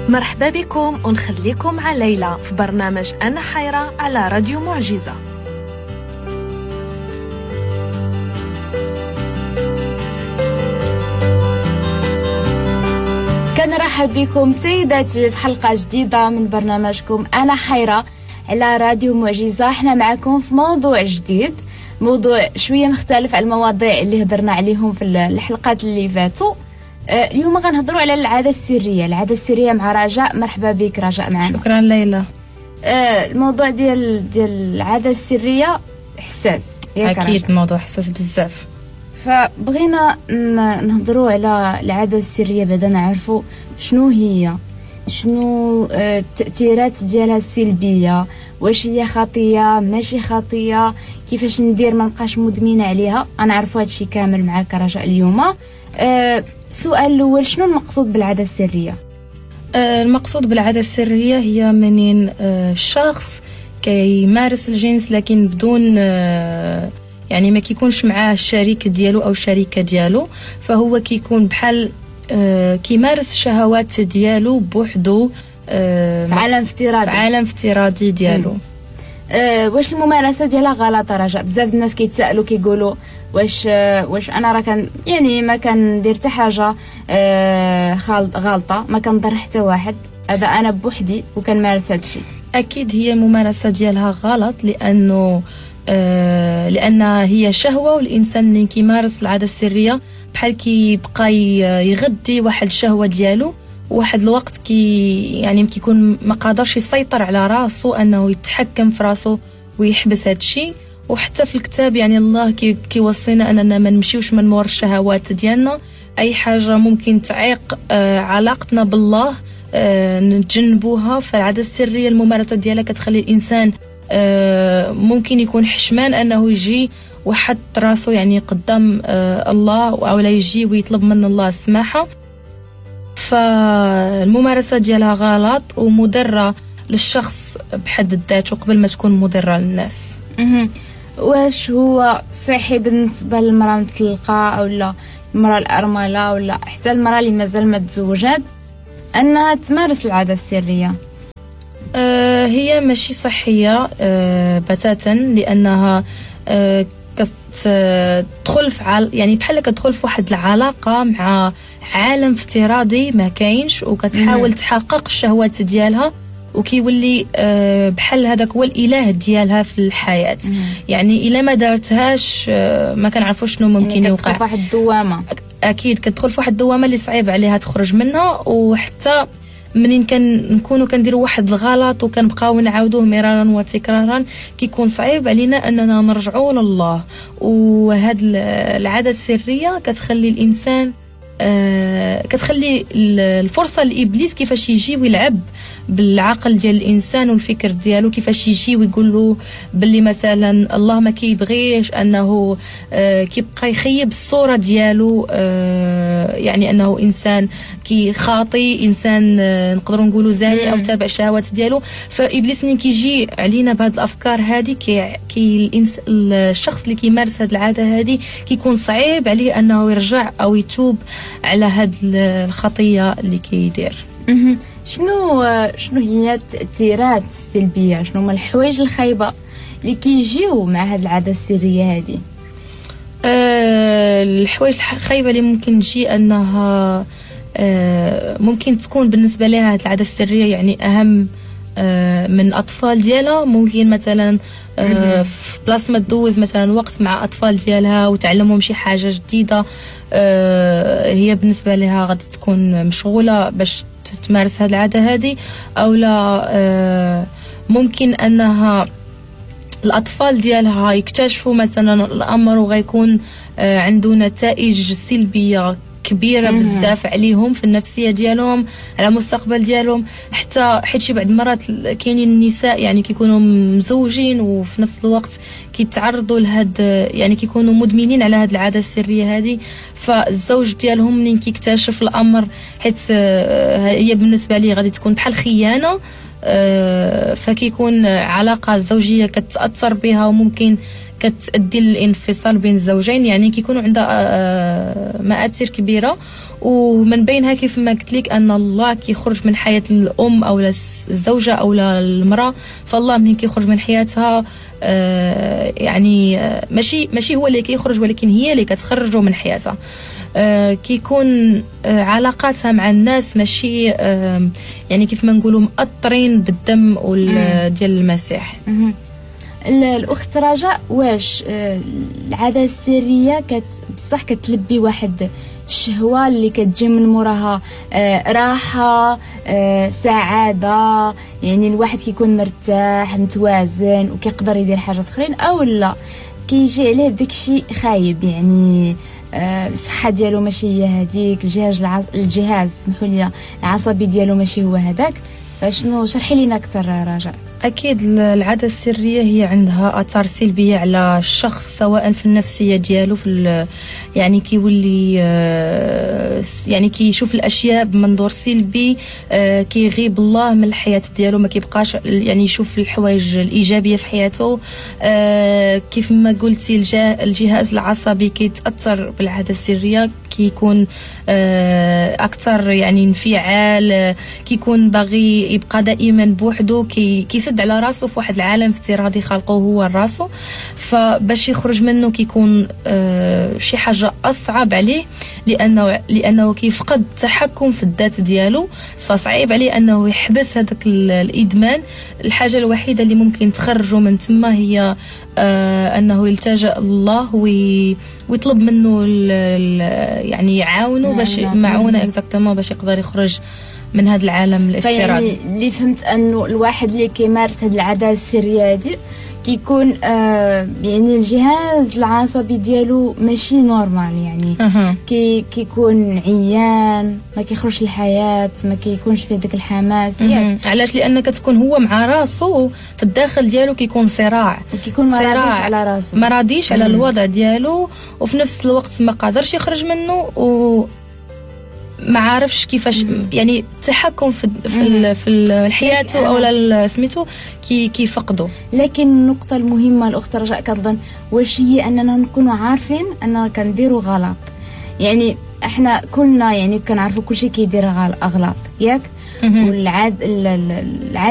مرحبا بكم ونخليكم مع ليلى في برنامج أنا حيرة على راديو معجزة. كنرحب بكم سيداتي في حلقة جديدة من برنامجكم أنا حيرة على راديو معجزة. احنا معكم في موضوع جديد، موضوع شوية مختلف على المواضيع اللي هضرنا عليهم في الحلقات اللي فاتوا. اليوم غنهضروا على العادة السرية، العادة السرية مع رجاء. مرحبا بك رجاء معنا. شكرا ليلى. الموضوع ديال العادة السرية حساس، اكيد موضوع حساس بزاف، فبغينا نهضروا على العادة السرية بعدا نعرفوا شنو هي، شنو التأثيرات ديالها السلبية، واش هي خطية ماشي خطية، كيفاش ندير ما نبقاش مدمنة عليها. غنعرفوا هادشي كامل معاك رجاء اليوم. السؤال الاول، شنو المقصود بالعادة السرية؟ المقصود بالعادة السرية هي منين الشخص كيمارس الجنس لكن بدون يعني ما كيكونش معاه الشريك ديالو او الشريكة ديالو، فهو كيكون بحال كيمارس الشهوات ديالو بوحدو، في عالم افتراضي، في عالم افتراضي ديالو. واش الممارسة ديالها غلط رجاء؟ بزاف الناس كيتسائلوا كيقولوا واش انا راه كان يعني ما كندير حتى حاجة غلطه، ما كنضر حتى واحد، هذا انا بوحدي وكنمارس هذا الشيء. اكيد هي الممارسة ديالها غلط، لانه لان هي شهوة، والانسان اللي كيمارس العادة السرية بحال كيبقى يغذي واحد الشهوة ديالو واحد الوقت، كي يعني كيكون ما قادرش يسيطر على راسو، انه يتحكم في راسو ويحبس هذا الشيء. وحتى في الكتاب يعني الله كيوصينا اننا ما نمشيوش من مور الشهوات ديالنا، اي حاجة ممكن تعيق علاقتنا بالله نتجنبوها. فالعاده السرية الممارسة ديالها كتخلي الانسان ممكن يكون حشمان انه يجي وحط راسو يعني قدام الله، او لا يجي ويطلب من الله السماحة. فالممارسه ديالها غلط ومضره للشخص بحد ذاته قبل ما تكون مضرة للناس. واش هو صحي بالنسبة للمراة المطلقة او لا المراة الارملة ولا حتى المراة اللي مازال ما تزوجات انها تمارس العادة السرية؟ هي ماشي صحية بتاتا، لانها كتدخل في يعني بحال كتدخل في واحد العلاقة مع عالم افتراضي ما كاينش، وكتحاول تحقق الشهوات ديالها، وكيولي بحال هذاك هو الاله ديالها في الحياة. يعني الا ما دارتهاش ما كنعرفوش شنو ممكن يعني يوقع. كتدخل في واحد الدوامة، اكيد كتدخل في واحد الدوامة اللي صعيب عليها تخرج منها. وحتى منين كنكونوا كنديروا واحد الغلط وكنبقاو نعاودوه مرارا وتكرارا، كيكون صعيب علينا اننا نرجعوا لله. وهاد العادة السرية كتخلي الانسان كتخلي الفرصة لابليس كيفاش يجي ويلعب بالعقل ديال الانسان والفكر ديالو، كيفاش يجي ويقول له باللي مثلا الله ما كيبغيش، انه كيبقى يخيب الصورة ديالو، يعني انه انسان كيخاطي، انسان نقدروا نقولوا زاني او تابع الشهوات ديالو. فابليس ملي كيجي علينا بهاد الافكار هذه، كي الشخص اللي كيمارس هاد العادة هذه كيكون صعيب عليه انه يرجع او يتوب على هاد الخطية اللي كيدير. شنو هي التأثيرات السلبية، شنو هما الحوايج الخايبة اللي كيجيو مع هاد العادة السرية هذه؟ الحوايج الخايبة اللي ممكن تجي انها ممكن تكون بالنسبة لها هاد العادة السرية يعني اهم من الاطفال ديالها. ممكن مثلا في بلاصة ما تدوز مثلا وقت مع اطفال ديالها وتعلمهم شي حاجة جديدة، هي بالنسبة لها غادي تكون مشغولة باش تمارس هذه العادة هذه. او لا ممكن انها الاطفال ديالها يكتشفوا مثلا الامر وغيكون عنده نتائج سلبية كبيرة بزاف عليهم في النفسية ديالهم، على المستقبل ديالهم. حتى حيت شي بعض المرات كاينين النساء يعني كيكونوا مزوجين وفي نفس الوقت كيتعرضوا لهاد، يعني كيكونوا مدمنين على هاد العادة السرية هذه. فالزوج ديالهم منين كيكتشف الامر، حيت هي بالنسبة ليه غادي تكون بحال خيانة، فكيكون علاقة الزوجية كتاثر بها وممكن كتؤدي للانفصال بين الزوجين، يعني كيكونوا عندها مآثر كبيرة. ومن بينها كيف ما قلت لك ان الله كيخرج من حياة الام او الزوجة او المراة. فالله منين كيخرج من حياتها يعني ماشي هو اللي كيخرج، ولكن هي اللي كتخرجه من حياتها. كيكون علاقاتها مع الناس ماشي يعني كيف ما نقولوا مأطرين بالدم ديال المسيح. الاخت رجاء، واش العادة السرية بصح كتلبي واحد الشهوة اللي كتجي من موراها راحة، سعادة، يعني الواحد كيكون مرتاح متوازن وكيقدر يدير حاجات اخرين، او لا كيجي عليه بداك الشيء خايب، يعني الصحة ديالو ماشي هي هذيك، الجهاز سمحوا لي العصبي ديالو ماشي هو هذاك؟ فشنو شرحي لينا اكثر رجاء. اكيد العادة السرية هي عندها اثار سلبية على الشخص، سواء في النفسية ديالو، في يعني كيولي يعني كيشوف الاشياء بمنظور سلبي، كيغيب الله من الحياة ديالو، ما كيبقاش يعني يشوف الحوايج الايجابية في حياته. كيف ما قلتي الجهاز العصبي كيتاثر بالعادة السرية، كيكون اكثر يعني انفعال، كيكون باغي يبقى دائما بوحدو، كيسد على راسو في واحد العالم افتراضي خلقه هو راسو، فباش يخرج منه كيكون شي حاجة اصعب عليه، لانه كيفقد التحكم في الذات ديالو، فصعيب عليه انه يحبس هذاك الادمان. الحاجة الوحيدة اللي ممكن تخرجه من تما هي انه يلتجأ الله ويطلب منه يعني يعاونه باش معونة exactement باش يقدر يخرج من هذا العالم الافتراضي. يعني اللي فهمت انه الواحد اللي كيمارس هذه العادة السرية هذه كيكون يعني الجهاز العصبي ديالو ماشي normal، يعني كيكون عيان، ما كيخرجش الحياة، ما كيكونش فيه داك الحماس. يعني علاش؟ لان كتكون هو مع راسو في الداخل ديالو كيكون صراع، وكيكون ما راضيش على راسو، ما راضيش على الوضع ديالو، وفي نفس الوقت ما قادرش يخرج منه، و ما عارفش كيفاش يعني التحكم في حياته او سميتو كيفقدو. لكن النقطة المهمة الاخت رجاء كنظن واش هي اننا نكونوا عارفين اننا كنديروا غلط. يعني احنا كلنا يعني كنعرفوا كلشي كيدير اغلاط، ياك؟ والعاد العادة